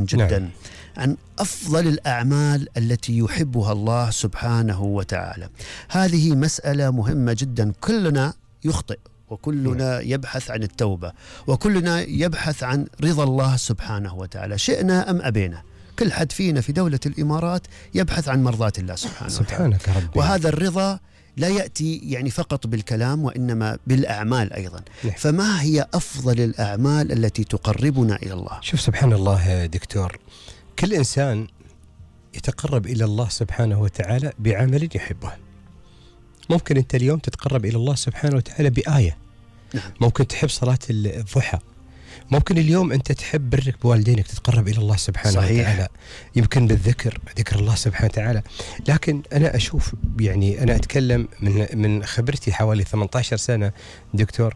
جدا نعم. عن أفضل الأعمال التي يحبها الله سبحانه وتعالى. هذه مسألة مهمة جدا. كلنا يخطئ وكلنا يبحث عن التوبة وكلنا يبحث عن رضا الله سبحانه وتعالى، شئنا أم أبينا. كل حد فينا في دولة الإمارات يبحث عن مرضاة الله سبحانه وتعالى. سبحانك ربي. وهذا الرضا لا يأتي يعني فقط بالكلام وإنما بالأعمال أيضا. نعم. فما هي أفضل الأعمال التي تقربنا إلى الله؟ شوف سبحان الله دكتور، كل إنسان يتقرب إلى الله سبحانه وتعالى بعمل يحبه. ممكن أنت اليوم تتقرب إلى الله سبحانه وتعالى بآية. نعم. ممكن تحب صلاة الضحى. ممكن اليوم أنت تحب برك بوالدينك، تتقرب إلى الله سبحانه صحيح. وتعالى. يمكن بالذكر، ذكر الله سبحانه وتعالى. لكن أنا أشوف، يعني أنا أتكلم من خبرتي حوالي 18 سنة دكتور،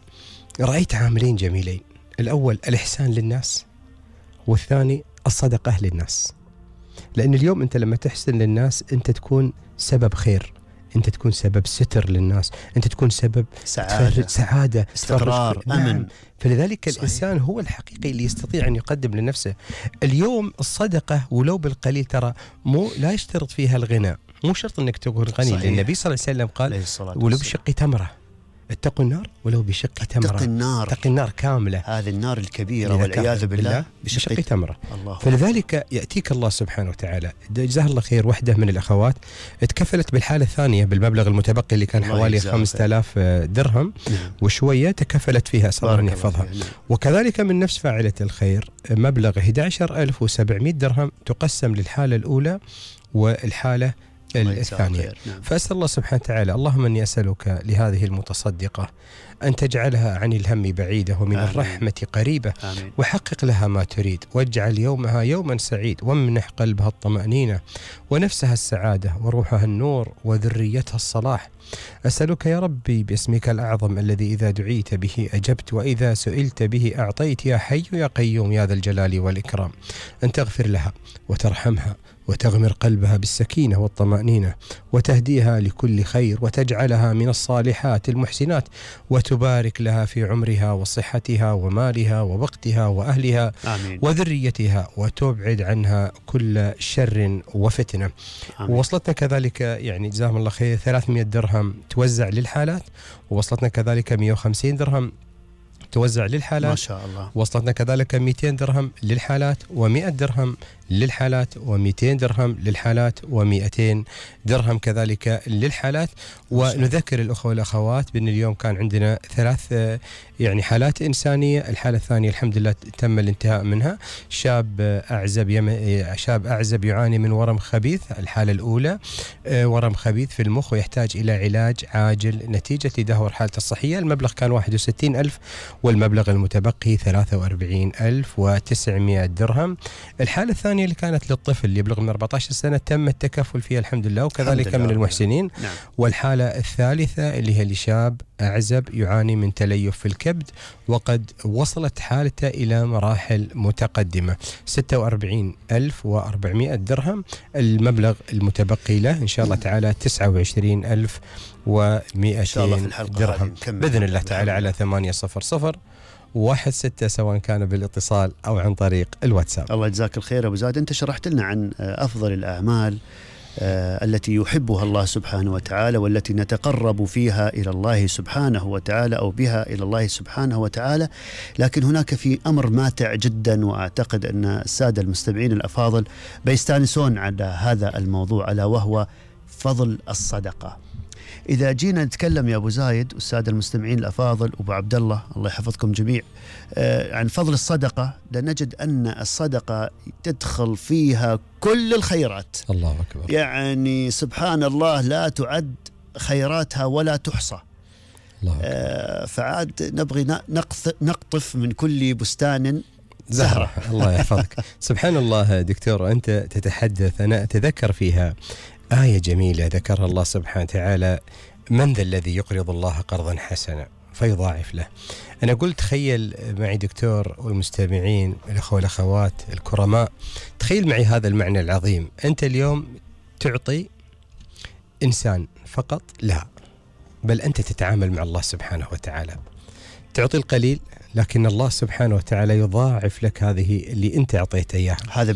رأيت عاملين جميلين. الأول الإحسان للناس، والثاني الصدقة للناس. لأن اليوم أنت لما تحسن للناس أنت تكون سبب خير، أنت تكون سبب ستر للناس، أنت تكون سبب سعادة، استقرار، أمن. فلذلك صحيح. الإنسان هو الحقيقي اللي يستطيع أن يقدم لنفسه. اليوم الصدقة ولو بالقليل، ترى لا يشترط فيها الغنى، مو شرط أنك تكون غني. لأن النبي صلى الله عليه وسلم قال ولو بشق تمرة، اتقوا النار ولو بشق تمرة. اتق النار كاملة، هذه النار الكبيرة والعياذ بالله بشق تمرة. الله. فلذلك يأتيك الله سبحانه وتعالى. جزاه الله خير، واحدة من الأخوات اتكفلت بالحالة الثانية بالمبلغ المتبقي اللي كان حوالي 5000 درهم وشوية، تكفلت فيها أسأل أن يحفظها. وكذلك من نفس فاعلة الخير مبلغ 11700 درهم تقسم للحالة الأولى والحالة الثانية. فأسأل الله سبحانه وتعالى، اللهم أني أسألك لهذه المتصدقة أن تجعلها عن الهم بعيدة ومن آمين. الرحمة قريبة. آمين. وحقق لها ما تريد، واجعل يومها يوما سعيد، وامنح قلبها الطمأنينة ونفسها السعادة وروحها النور وذريتها الصلاح. أسألك يا ربي باسمك الأعظم الذي إذا دعيت به أجبت وإذا سئلت به أعطيت، يا حي يا قيوم يا ذا الجلال والإكرام، أن تغفر لها وترحمها وتغمر قلبها بالسكينة والطمأنينة وتهديها لكل خير وتجعلها من الصالحات المحسنات، وتبارك لها في عمرها وصحتها ومالها ووقتها وأهلها. آمين. وذريتها، وتبعد عنها كل شر وفتنة. آمين. ووصلتنا كذلك يعني جزاهم الله خير 300 درهم توزع للحالات، ووصلتنا كذلك 150 درهم توزع للحالات ما شاء الله. وصلتنا كذلك 200 درهم للحالات و100 درهم للحالات و200 درهم للحالات و200 درهم كذلك للحالات. ونذكر الأخوة والأخوات بأن اليوم كان عندنا 3 يعني حالات إنسانية. الحالة الثانية الحمد لله تم الانتهاء منها، شاب أعزب يعاني من ورم خبيث. الحالة الأولى ورم خبيث في المخ ويحتاج إلى علاج عاجل نتيجة تدهور حالته الصحية. المبلغ كان 61,000 والمبلغ المتبقي 43,900 درهم. الحالة الثانية اللي كانت للطفل اللي يبلغ من 14 سنة تم التكفل فيها الحمد لله، وكذلك من المحسنين. نعم. والحالة الثالثة اللي هي لشاب أعزب يعاني من تليف في الكبد وقد وصلت حالته إلى مراحل متقدمة. 46,400 درهم. المبلغ المتبقي له إن شاء الله تعالى 29,200 درهم بإذن الله تعالى على 800-16 سواء كان بالاتصال أو عن طريق الواتساب. الله يجزاك الخير أبو زاد. أنت شرحت لنا عن أفضل الأعمال التي يحبها الله سبحانه وتعالى والتي نتقرب فيها إلى الله سبحانه وتعالى أو بها إلى الله سبحانه وتعالى. لكن هناك في أمر ماتع جدا، وأعتقد أن السادة المستمعين الأفاضل بيستانسون على هذا الموضوع، ألا وهو فضل الصدقة. إذا جينا نتكلم يا أبو زايد والسادة المستمعين الأفاضل وأبو عبد الله الله يحفظكم جميع عن فضل الصدقة، لنجد أن الصدقة تدخل فيها كل الخيرات. الله أكبر. يعني سبحان الله لا تعد خيراتها ولا تحصى. الله أكبر. فعاد نبغي نقطف من كل بستان زهرة. الله يحفظك. سبحان الله دكتور، أنت تتحدث أنا أتذكر فيها آية جميلة ذكرها الله سبحانه وتعالى: من ذا الذي يقرض الله قرضا حسنا فيضاعف له. أنا قلت تخيل معي دكتور والمستمعين الأخوة والأخوات الكرماء، تخيل معي هذا المعنى العظيم. أنت اليوم تعطي إنسان فقط؟ لا، بل أنت تتعامل مع الله سبحانه وتعالى، تعطي القليل لكن الله سبحانه وتعالى يضاعف لك هذه اللي أنت أعطيته إياها. هذا